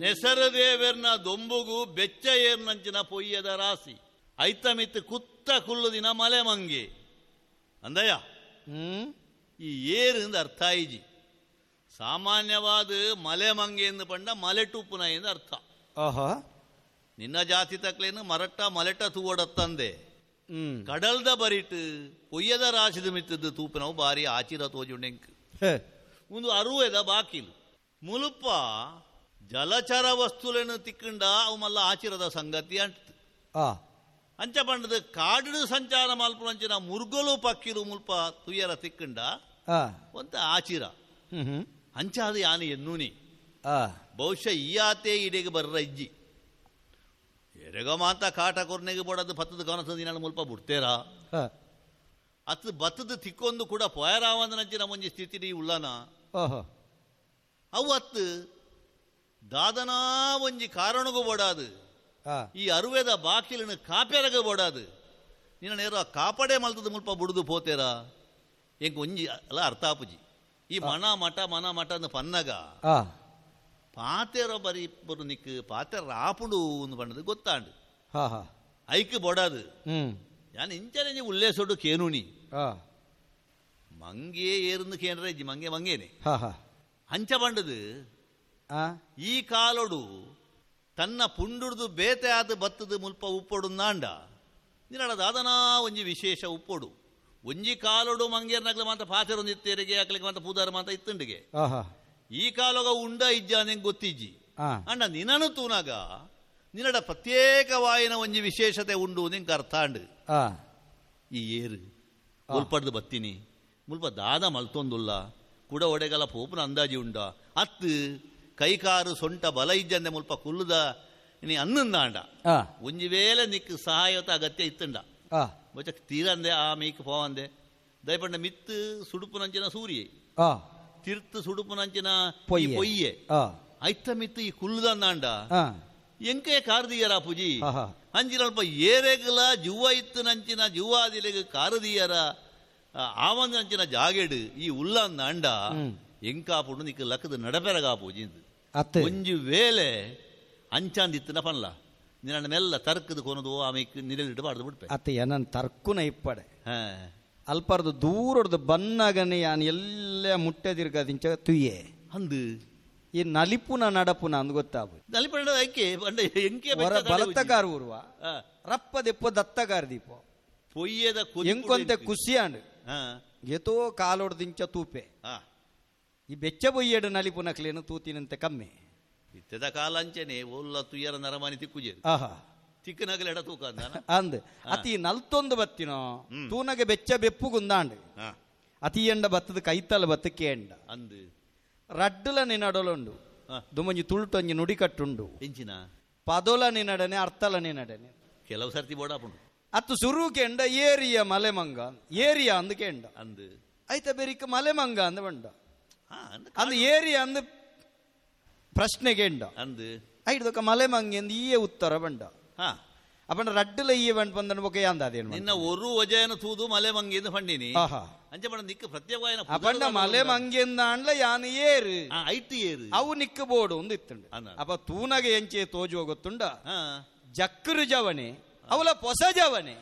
ನೆಸರದೇವೆರ್ನ ದೊಂಬುಗು ಬೆಚ್ಚ ಏರ್ನಂಚಿನ ಪೊಯ್ಯದ ರಾಸಿ ಐತಮಿತ್ತು ಕುತ್ತ ಕುಲ್ಲುದಿನ ಮಲೆ ಮಂಗೆ ಅಂದಯ್ಯ. ಈ ಏರಿಂದ ಅರ್ಥ ಇಜಿ. ಸಾಮಾನ್ಯವಾದ ಮಲೆ ಮಂಗೆ ಎಂದು ಪಂಡ ಮಲೆ ಟುಪ್ಪುನ ಎಂದು ಅರ್ಥ. ನಿನ್ನ ಜಾತಿ ತಕ್ಲೇನು ಮರಟ್ಟ ಮಲೆಟ ತೂವಡತ್ತಂದೆ ಕಡಲ್ದ ಬರಿಟ್ ಪೊಯ್ಯದ ರಾಶಿದ ಮಿತ್ತದ್ದು ತೂಪಿನವು ಬಾರಿ ಆಚಿರ ತೋಜುಂಡೆಂಕ್. ಒಂದು ಅರುವೆದ ಬಾಕಿಲು ಮುಲುಪ ಜಲಚರ ವಸ್ತುలను ತಿಕ್ಕಂಡ ಅವು ಮಲ್ಲ ಆಚಿರದ ಸಂಗತಿ ಅಂಟ. ಅಂಚ ಪಂಡದ ಕಾಡು ಸಂಚಾರ ಮಲ್ಪುನಂಚಿನ ಮುರ್ಗಲು ಪಕ್ಕಿಲು ಮುಲ್ಪ ತುಯ್ಯರ ತಿಕ್ಕಂಡ ಒಂತ ಆಚಿರ ಅಂಚ ಅದು ಯಾನು ಎನ್ನೂನಿ. ಬಹುಶಃ ಈ ಆತೆ ಇಡೆಗೆ ಬರ್ರ ಇಜ್ಜಿ ಎರೆಗ ಮಾತ ಕಾಟ ಕೊರ್ನೆಗೆ ಬೋಡದು ಬತ್ತದ ಕನಸದ ಮುಲ್ಪ ಬಿಡ್ತೇರಾ ಅತ್ ಬತ್ತದ ತಿಕ್ಕೊಂದು ಕೂಡ ಪೊಯರಾವಂದನಂಚಿನ ಒಂಜಿ ಸ್ಥಿತಿ ಉಳ್ಳನ. ಅವು ಅತ್ತು ದಾದನಾ ಒಂಜಿ ಕಾರಣಗೂ ಬೋಡಾದು ಈ ಅರುವೆದ ಬಾಕಿಲಿನ ಕಾಪ್ಯರಗ ಬೋಡಾದು ನಿನ್ನ ನೇರ ಕಾಪಡೆ ಮಲ್ತದ ಮುಲ್ಪ ಬುಡುದು ಪೋತೇರಾ ಎಂಕ್ ಒಂಜಿ ಅಲ್ಲ ಅರ್ಥ ಆಪುಜಿ. ಈ ಮನ ಮಠ ಮನ ಮಠ ಅಂದ್ ಪನ್ನಗ ಪಾತೆರ ಬರಿ ಇಬ್ಬರು ನಿಕ್ ಪಾತೆರ ಆಪುಡು ಒಂದು ಬಣ್ಣದ ಗೊತ್ತಾಂಡು ಐಕ್ ಬೋಡಾದು ಯಾನ್ ಇಂಚನೆ ಉಲ್ಲೇಸೊಡು ಕೇನುನಿ ಮಂಗೆ ಏರ್ದು ಕೇಂದ್ರ ಇಜ್ಜಿ ಮಂಗೆ ಮಂಗೇನೆ ಅಂಚ ಬಂಡದು. ಈ ಕಾಲೊಡು ತನ್ನ ಪುಂಡುಡ್ದು ಬೇತೆ ಆದ ಬತ್ತದ ಮುಲ್ಪ ಉಪ್ಪೊಡು ನಾಂಡ ನಿನ್ನಡ ದಾದನಾ ಒಂಜಿ ವಿಶೇಷ ಉಪ್ಪೊಡು. ಒಂಜಿ ಕಾಲೊಡು ಮಂಗೇರ್ನಗ್ಲ ಮಾತ ಪಾತೆರೊಂದಿತ್ತೇರಿಗೆ ಅಕ್ಲಿಗೆ ಮಾತ ಪೂದಾರ ಮಾತ ಇತ್ತುಂಡಿಗೆ. ಈ ಕಾಲೊಗ ಉಂಡ ಇಜ್ಜ ನಿಂಗೆ ಗೊತ್ತಿಜ್ಜಿ. ಅಂಡ ನಿನ್ನನು ತೂನಾಗ ನಿನ್ನಡ ಪ್ರತ್ಯೇಕವಾಯಿನ ಒಂಜಿ ವಿಶೇಷತೆ ಉಂಡು ನಿಂಗೆ ಅರ್ಥ ಅಂಡು. ಈ ಏರು ಮುಲ್ಪಡ್ದು ಬತ್ತೀನಿ ಮುಲ್ಪ ದಾದ ಮಲ್ತೊಂದುಲ್ಲ ಕುಡ ಒಡೆಗಲ ಪೋಪುನ ಅಂದಾಜಿ ಉಂಡ ಅತ್ತು ಕೈಕಾರು ಸೊಂಟ ಬಲ ಇಜ್ಜಂದೆ ಮುಲ್ಪ ಕುಲ್ಲುದ ನೀ ಅನ್ನಂದಾಂಡ ಒಂಜಿ ವೇಳೆ ನಿಕ್ ಸಹಾಯತ ಅಗತ್ಯ ಇತ್ತಂಡ ಬೊಚ್ಚ ತೀರಂದೆ ಆ ಮೀಕ್ ಪೋವಂದೆ ದಯಪಂಡ ಮಿತ್ತು ಸುಡುಪುನಂಚಿನ ಸೂರ್ಯ ತಿರ್ತು ಸುಡುಪುನಂಚಿನ ಪೊಯ್ಯೆ ಐತ ಮಿತ್ತು ಈ ಕುಲ್ಲುದಂದಾಂಡ ಎಂಕೆ ಕಾರದೀಯರ ಪೂಜಿ ಅಂಚಿನ ಏರೆಗಲ ಜುವ್ವ ಇತ್ತು ನಂಚಿನ ಜುವ್ವಾದಿಲೆಗ್ ಕಾರದೀಯರ ಆವಂದಂಚಿನ ಜಾಗೆಡು ಈ ಉಲ್ಲಂದಾಂಡ ಎಂಕಾಪುಡು ನಿಕ್ ಲಕ್ಕದ ನಡಪೆರಗಾ ಪೂಜಿ ಒಂಜಿ ವೇಳೆ ಅಂಚಾಂದಿತ್ತಿನ ಪನ್ಲ ನಿನ್ನ ಮೆಲ್ಲ ತರ್ಕದ ಕೊನದು ಆಮೇಲೆ ನಿರಲಿಟ್ಟು ಬಾಡ್ದು ಬಿಡ್ಪೆ ಅತ್ತಯ್ಯ. ನನ್ನ ತರ್ಕುನ ಇಪ್ಪಡೆ ಅಲ್ಪರ್ದು ದೂರಡ್ದು ಬನ್ನಾಗನೆ ಯಾನ್ ಎಲ್ಲ ಮುಟ್ಟೆದಿರ್ಗದಿಂಚ ತುಯ್ಯೆ ಅಂದು ಈ ನಲಿಪುನ ನಡಪುನ ಅಂದ್ ಗೊತ್ತಾಗ ನಲಿಪುನ ಐಕೆ ಎಂಕೆ ಬಲತ್ತಗಾರ ಊರುವ ರಪ್ಪ ದೆಪ್ಪ ದತ್ತಗಾರ ದೀಪ ಪೊಯ್ಯದ ಎಂಕೊಂತೆ ಖುಷಿಯಾಂಡು ಎತೋ ಕಾಲೊಡ್ದಿಂಚ ತೂಪೆ ಈ ಬೆಚ್ಚ ಬೊಯ್ಯಡು ನಲಿಪುನಕ್ಲೇನು ತೂತಿನಂತೆ ಕಮ್ಮಿ ಇತ್ತದ ಕಾಲ ಅಂಚನೆ ಒಲ್ಲ ತುಯ್ಯರ ನರಮಾನಿ ತಿಕ್ಕುಜೆ ತಿಕ್ಕನಗಲ ಎಡ ತೂಕ ಅಂದ್ ಅತಿ ನಲ್ತೊಂದು ಬತ್ತಿನೋ ತೂನಗೆ ಬೆಚ್ಚ ಬೆಪ್ಪುಗುಂದಾಂಡು ಅತಿ ಎಂಡ ಬತ್ತದ ಕೈತಲ ಬತ್ತ ಕೇಂಡ ಅಂದು ರಡ್ಡುಲ ನಿನಡಲುಂಡು ದುಮಂಜಿ ತುಳುಟೊಂಜಿ ನುಡಿಕಟ್ಟುಂಡು ಎಂಚಿನ ಪದೋಲ ನಿನಡನೆ ಅರ್ಥಲ ನಿನಡನೆ ಕೆಲವು ಸರ್ತಿ ಬೋಡಾಪುಂಡು ಅತ್ತು ಸುರು ಕೆಂಡ ಏರಿಯ ಮಲೆ ಮಂಗ ಏರಿಯ ಅಂದು ಕೆಂಡ ಅಂದು ಐತ ಬೆರಿಕ ಮಲೆ ಮಂಗ ಅಂದ ಬಂಡ ಅಂದು ಏರಿಯ ಅಂದು ಪ್ರಶ್ನೆಗೆ ಎಂಡ ಅಂದು ಐದೊಕ್ಕ ಮಲೆ ಮಂಗೆ ಅಂದು ಈಯೆ ಉತ್ತರ ಬಂಡ ಅಪ್ಪಂಡ ರಡ್ಡುಲ ಈಯೆ ಬಂಡ್ ಬಂದನು ಬೊಕ ಯಾಂದ ಅದೇನು ನಿನ್ನ ಒರು ವಜಯನ ತೂದು ಮಲೆ ಮಂಗೆ ಎಂದು ಪಂಡಿನಿ ಅಂಚೆ ಪಂಡ ನಿಕ್ಕ ಪ್ರತ್ಯೇಕವಾಯಿನ ಅಪಂಡ ಮಲೆ ಮಂಗೆ ಅಂದ ಯಾನು ಏರು ಐಟ್ ಏರು ಅವು ನಿಕ್ಕ ಬೋಡು ಒಂದು ಇತ್ತುಂಡು. ಅಪ್ಪ ತೂನಗೆ ಎಂಚೆ ತೋಜುವ ಗೊತ್ತುಂಡ ಜಕ್ಕರು ಜವನೆ ಅವಲ ಪೊಸ ಜವನೆ.